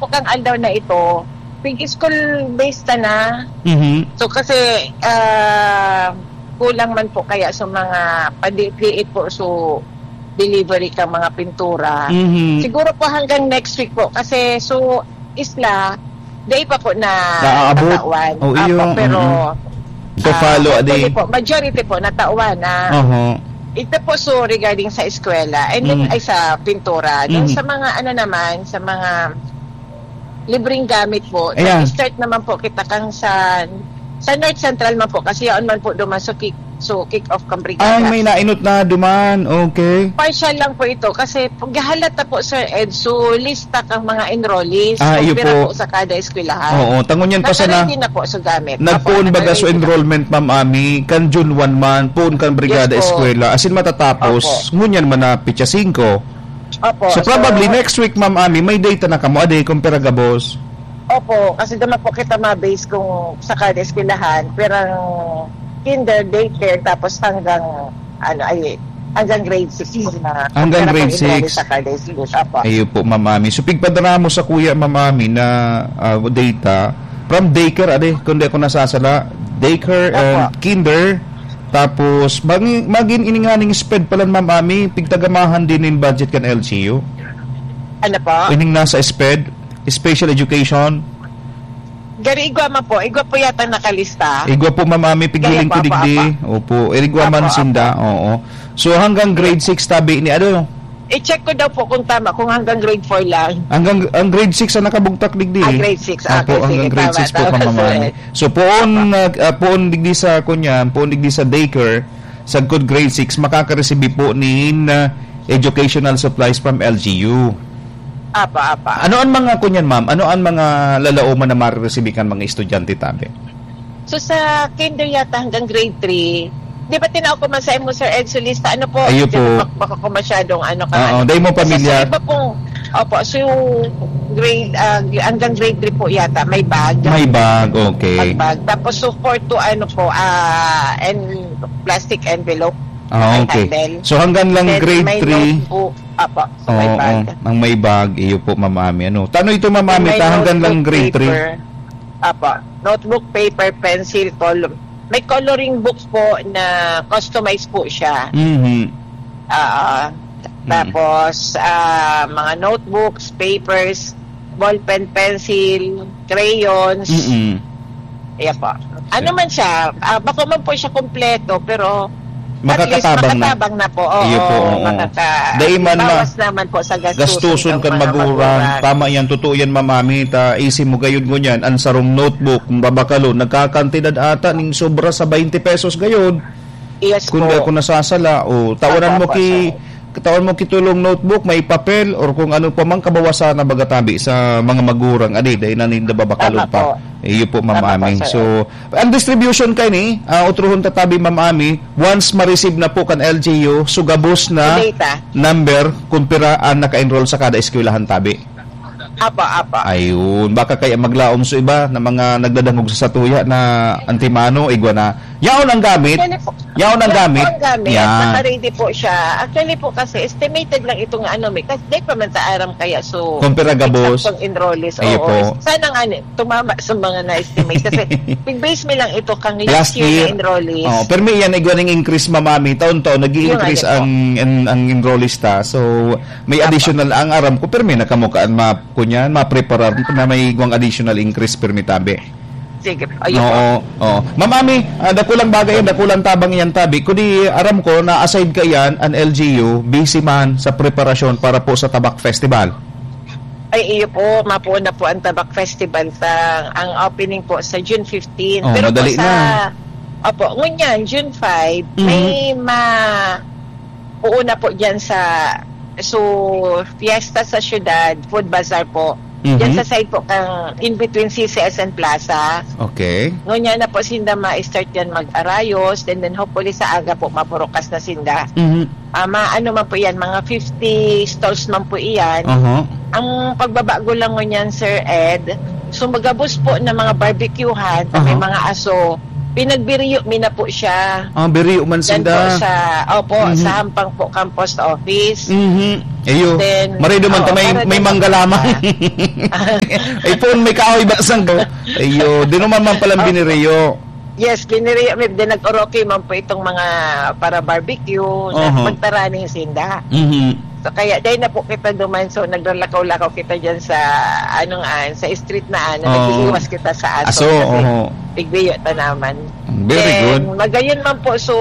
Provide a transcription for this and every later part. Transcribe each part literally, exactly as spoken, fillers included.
Kang aldaw na ito, pig-school based ta na. Mhm. So, kasi, ah, kulang man po kaya sa mga padiit-diit po, so, delivery ka mga pintura. Mhm. Siguro po hanggang next week po, kasi so, isla, day pa po na Naaabot? tatawan. Oh, Apo, iyo, pero, mm. To ah, follow, hopefully adi. po, majority po, natawan na. Oho. Ito po, so, regarding sa eskwela, and then, Mm. ay, sa pintura. Then, Mm. sa mga, ano naman, sa mga libreng gamit po, Ayan. nag-start naman po kita kang sa, sa North Central man po, kasi yaon man po duman, so, kick, so, kick off kang brigada. Ay, may nainot na duman. Okay. Partial lang po ito, kasi pag halat na po, Sir Ed, so, lista kang mga enrollees, Ah, kung iyo pira po. po sa kada eskwelahan. Oo, tangon yan pa sana. Nakaready na po sa gamit. Nagpoon Apo, baga so nakaready na. enrollment, Ma'am Ami, kan June one man, poon kan brigada Yes po. eskwela. As in, matatapos, Opo. ngunyan man na pitsa singko. Opo, So, so probably next week, Ma'am Ami, may data na kamo, ade, kung pira gabos. Opo, kasi naman po kita ma-base kung sa kada eskwelahan, pirang kinder, daycare, tapos hanggang, ano, ay, hanggang grade six na Hanggang kung grade pira pong enroll six. sa kada school. Opo. Ayun po, Ma'am Ami. So, pigpadala mo sa kuya, Ma'am Ami, na, ah, data from daycare, ade, kung di ako nasasala, daycare and Opo. kinder, tapos, magin, magin ininganing sped pala, Ma'am Ami, pigtagamahan din yung budget kan L G U. Ano po? Ining nasa sped, special education. Gari igwa man po. Igwa po yata nakalista. Igwa po, Ma'am Ami, pighiling Kaya po, ko apo, digdi. apo. Opo, igwa Apo, man apo. sinda, oo. So, hanggang grade six tabi ni ano? I-check ko daw po kung tama, kung hanggang grade four lang. Hanggang, ang grade six ang nakabugtak digdi Ah, eh. grade six. Ah, Apo, okay, sige, hanggang grade tama, six po, tama, Ma'am sir. Ami. So, poon, Apo. nag-, ah, poon digdi sa, kunyan, poon digdi sa daycare, sagkod grade six, makakareceive po nin, ah, educational supplies from L G U. Apa, apa. Ano ang mga, kunyan, ma'am? Ano ang mga lalauman na marireceive kan mga estudyante tabi? So, sa kinder yata hanggang grade three, di ba tinao ko man sa imo, Sir Ed, sa lista? Ano po? Ayo Di po. ba, baka ko masyadong ano ka, Oo, ano. dahil mo Kasi pamilya. sa iba pong, opo, so grade, ah, hanggang grade three po yata, may bag. May bag, okay. May bag. Tapos, so four to ano po, ah, and plastic envelope. Ah, May okay. handle. So, hanggang lang Then, grade may three. notebook. Apo, so may Oo, bag. ang may bag, iyo po, Ma'am Ami. Ano? Tano ito, Ma'am Then, Ami, may ta hanggang lang notebook, grade three? paper. Apo. Notebook, paper, pencil, column. May coloring book po na customized po siya. Mhm. Ah, Mm. tapos, ah, mga notebooks, papers, ballpen, pencil, crayons. Mm-mm. Iya po. Ano man siya, ah, bako man po siya kompleto, pero at least Makakatabang na. makatabang na po. Oo, Iyo po, oo. makaka-, Dai man ma-, bawas naman po sa gastusin gastuson ng kan mga magurang. magurang. Tama yan, totoo yan, Ma'am Ami. Ta, isi mo gayud ngunyan, ang sarong notebook, kung babakalon, nagkakantidad ata ning sobra sa twenty pesos gayud. Yes Kung po. di ako nasasala, o, tawanan Opo, mo opo, ki, sir. katawan mo kitulong notebook, may papel, or kung ano pa mang kabawasan na baga tabi sa mga magurang, adi, dahil na ninda babakalon Tama pa. po. Iyo po, Ma'am Tama po, Ami. sir. So, ang distribution kay ni, ah, utrohon ta tabi, Ma'am Ami, once ma-receive na po kan L G U, so gabos na Data. number kung pira ang naka-enroll sa kada eskwelahan tabi. Apa, apa. Ayun. Baka kaya maglaom sa iba na mga nagdadangog sa satuya na antimano, igwa na. Yaon ang gamit. Actually po, Yaon ang yaon gamit. po ang gamit. Yan. Naka-ready po siya. Actually po kasi, estimated lang ito nga ano, may, kasi di pa man ta aram kaya, so, Kung pira gabos. eksaktong enrollees. Ayo Oo. po. Sana nga ni, tumama sa mga na-estimate. Kasi, pig-base mi lang ito kang last Last year year. na enrollees. Oh, pero may yan, igwa ning increase, Ma'am Ami. Taon-taon, nag-i-increase Yung ano po. ang, ang, ang enrollees ta. So, may Apa. additional, ang aram ko, pero may nakamukaan, ma-, kunyan, mapreparar na may igwang additional increase, pero may tabi. Sige po. Ayun po. Oo, oo. Ma'am Ami, ah, dakulang bagay yan, dakulang tabang yan, tabi. Kung di, aram ko, na aside ka yan, an L G U, busy man sa preparasyon para po sa Tabak Festival. Ay, iyo po, mapuon na po ang Tabak Festival sa, ang opening po sa June fifteen. Oh, Pero po madali sa, na. opo, ngunyan, June five, Mhm. may ma-, puon na po dyan sa, so, fiesta sa syudad, food bazaar po. Mhm. Dyan sa side po kang in between C C S and Plaza. Okay. Ngunyan na po sinda ma-start yan mag-arayos, and then hopefully sa aga po mapurukas na sinda. Mhm. Ah, maano man po yan, mga fifty stalls man po iyan. Aha. Ang pagbabago lang ngunyan, Sir Ed, so magabos po na mga barbecuehan, may Aha. mga aso, Pinagbiriyo mi na po siya. Ah, biriyo man Diyan po sinda. sa, opo, Mhm. sa hampang po kang post office. Mhm. Ayo. Then, Maray duman ta oo, may, para may duman mangga lamang. Ay po, may kahoy ba sanggo? Ayo, di naman man palang Opo. biniriyo. Yes, biniriyo mi. Then nag-oroke man po itong mga para barbecue. Na Oho. magtaraning sinda. Mhm. So, kaya dahil na po kita duman, so naglakaw-lakaw kita dyan sa, ano nga, sa street na, ano, Oo. nag-iiwas kita sa aso Aso, kasi oho. tigbiyo ta naman. Very Then, good. magayon man po, so,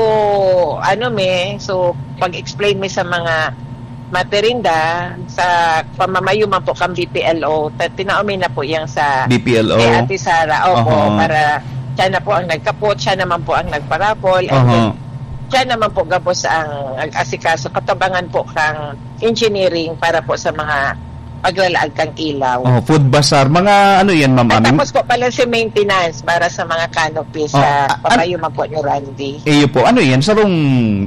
ano mi, so, pag-explain mi sa mga materinda, sa pamamayo man po kang B P L O, ta-, tinao mi na po yang sa B P L O. kay Ate Sara, opo, Oho. para siya na po ang nagkapot, siya naman po ang nagparapol, and Oho. then, siya naman po gabos ang nag-asikaso, katabangan po kang engineering para po sa mga paglalaag kang ilaw. Oh, food bazaar. Mga ano yan, Ma'am At Ami? tapos po pala si maintenance para sa mga canopies Oh, sa a-, an-, papayo man po ni Randy. Iyo po. Ano yan? Sarong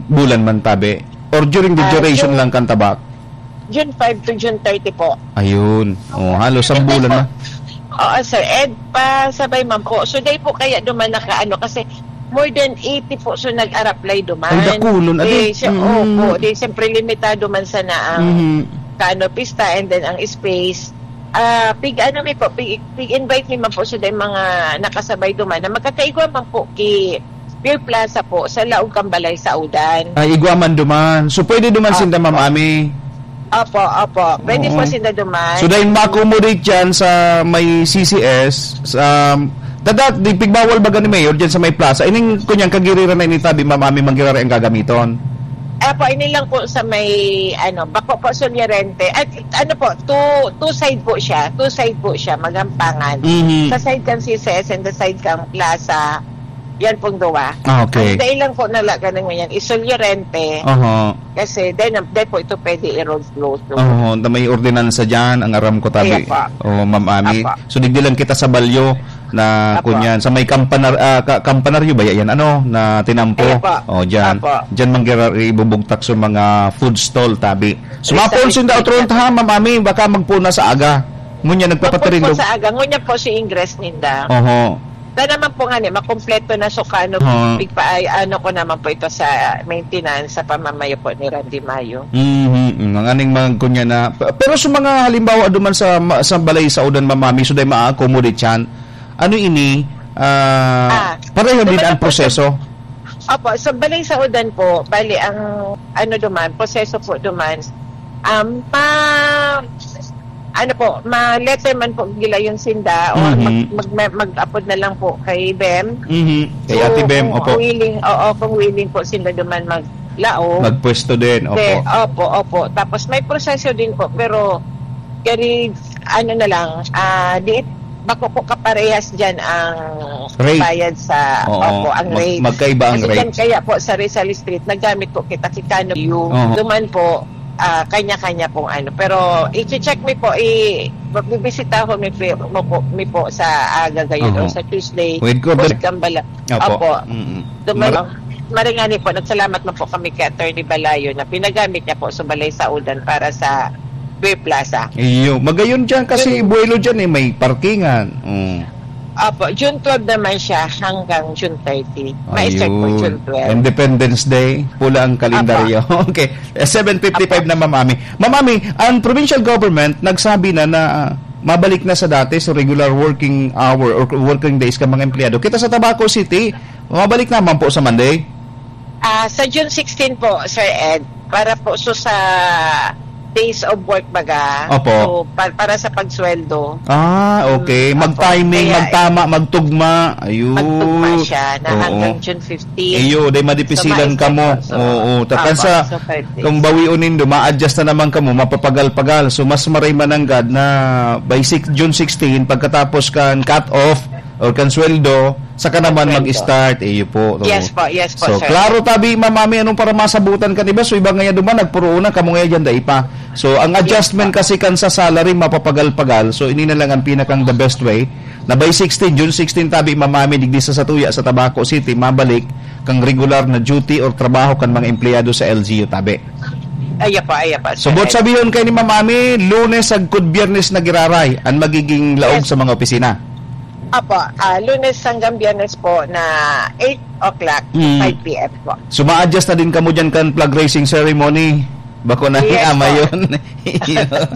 bulan man, tabi? Or during the Ah, duration June lang kan tabak? June five to June thirty po. Ayun. Oh, halos isang Hindi bulan po. na. Oo, sir. Ed, pasabay man po. So, dahil po kaya duman naka-ano, kasi more than eighty po, so nag-a-apply duman. Ay, dakulon, adi. Di, siya, Mm. opo, di, siyempre, limitado man sana ang Mhm. canopy stand and then ang space. Ah, pig, ano mi po, pig, pig-invite mi man po sa mga nakasabay duman na magkakaigwa man po ki Beer Plaza po, sa laog kan balay sa Udan. Ay, igwa man duman. So, pwede duman Opo. sinda, Ma'am Ami? Opo, opo. Pwede Oo. po sinda duman. So, dahil ma-accommodate yan sa may C C S, sa, dadat, di pigbawal ba gani, Mayor, dyan sa may plaza? Ining kunyang kagiriran na initabi, Ma'am Ami, manggirari ang gagamiton? Apo, ini lang po sa may, ano, bako po, Sulyarente. At, ano po, two, two side po siya. Two side po siya, magampangan. Mhm. Sa side kan C C S and the side kan plaza, yan pong duwa. Ah, okay. Ang dahil lang po nalaga na ngayon, isulyorente. Oho. Kasi, then, then po ito pwede i-road close. Oho, na may ordinansa dyan, ang aram ko, tabi. Kaya po. Oh, Ma'am Ami. Apo. So, digdi lang kita sa balyo na Apo. kunyan. Sa may kampanar-, ah, ka-, kampanaryo ba yan? Ano? Na tinampo? Kaya po. Oh, dyan. Apo. Dyan manggira-, ibubugtak sa mga food stall, tabi. So, Exactly. mapulso yung daotron ta, ha, Ma'am Ami, baka magpuna sa aga. Ngunyan, nagpapatirindog. Mapulso sa aga. Ngunyan po si Ingress ninda. Oho. Sana man po nga ni, makumpleto na so kano, Oo. pigpaay-, ano ko naman po ito sa maintenance, sa pamamayo po ni Randy Mayo. Mhm, mm, ang aning mga kunya na, pe-, pero sa mga halimbawa duman sa ma-, sa balay sa udan, Ma'am Ami, so dai ma-accommodate yan. Ano ini? Ah, Ah, pareho din duman ang ang proseso? Opo, sa balay sa udan po, bali ang ano duman, proseso po duman, um, ma-, ano po, ma-letter man po gilayon sinda o Mhm. mag-, mag-, mag-apod na lang po kay BEM. Mhm. Kay So, Ate Bem, kung opo. willing, oo, kung willing po sila duman maglaog. Magpwesto din, opo. Then, opo, opo. Tapos may proseso din po, pero very, ano na lang, ah, di, bako po kaparehas dyan ang Rate. bayad sa, Oo. opo, ang Mag-, rate. magkaiba ang Kasi dyan rate. kaya po sa Rizal Street, nagamit po kita si Cano View. Oo. Duman po, ah, kanya-kanya pong ano. Pero i-check mi po, i-, magbibisita ho mi po, mo po, mi po sa aga gayon Oho. o sa Tuesday. With ko, Post Gambala. Opo. Opo. Mm-mm. Duman, Mar- maringani po, nagsalamat na po kami kay Attorney Balayo na pinagamit niya po sa Balay Saudan para sa Beer Plaza. Iyo, magayon dyan kasi Yun. Iloilo dyan eh, may parkingan. Mm. Opo, June twelve naman siya hanggang June thirty. Ma-start po Ayun. June twelve. Independence Day, pula ang kalendaryo. Opo. Okay. Eh, seven fifty-five Opo. na, Ma'am Ami. Ma'am Ami, ang provincial government nagsabi na na, ah, mabalik na sa dati sa regular working hour or working days ka mga empleyado. Kita sa Tabaco City, mabalik naman po sa Monday? Ah, sa June sixteen po, Sir Ed, para po so sa days of work baga, Opo. so pa-, para sa pagsweldo. Ah, okay. Mm, Mag-timing, opo. Kaya, magtama, magtugma. Ayun. Magtugma siya na Oo. hanggang June fifteen. Iyo, day madipisilan So, kamo. maisip po. So, Oo, takan opo, sa so, five days. kung bawion nindo, ma-adjust na naman kamo, mapapagal-pagal. So, mas maray mananggad na by six, June sixteen, pagkatapos kan cut-off or kan sweldo, saka naman Sweldo. mag-start. Iyo po. Oo. Yes po, yes po, So, sir. klaro tabi, Ma'am Ami, anong para masabutan ka, di ba? So, iba ngayon duman, nagpuruunan, kamo ngayon dyan, dai pa. So, ang Yes adjustment po. kasi kan sa salary, mapapagal-pagal. So, ini na lang ang pinakang the best way. Na by sixteen, June sixteen tabi, Ma'am Ami, digdi sa Satuya, sa Tabaco City, mabalik kang regular na duty or trabaho kan mga empleyado sa L G U tabi. Aya pa, aya pa, So, sir. Bot sabihon kay ni Ma'am Ami, Lunes agkod Biyernes na giraray ang magiging laog Yes. sa mga opisina. Apo, ah, Lunes hanggang Biyernes po na eight o'clock to Mm. five p m po. So, ma-adjust na din kamo dyan kan flag raising ceremony? Bako na Yes, ni ama po. Yun.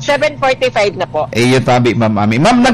Seven forty-five na po. Eh, yun, tabi, Ma'am Ami. Ma'am,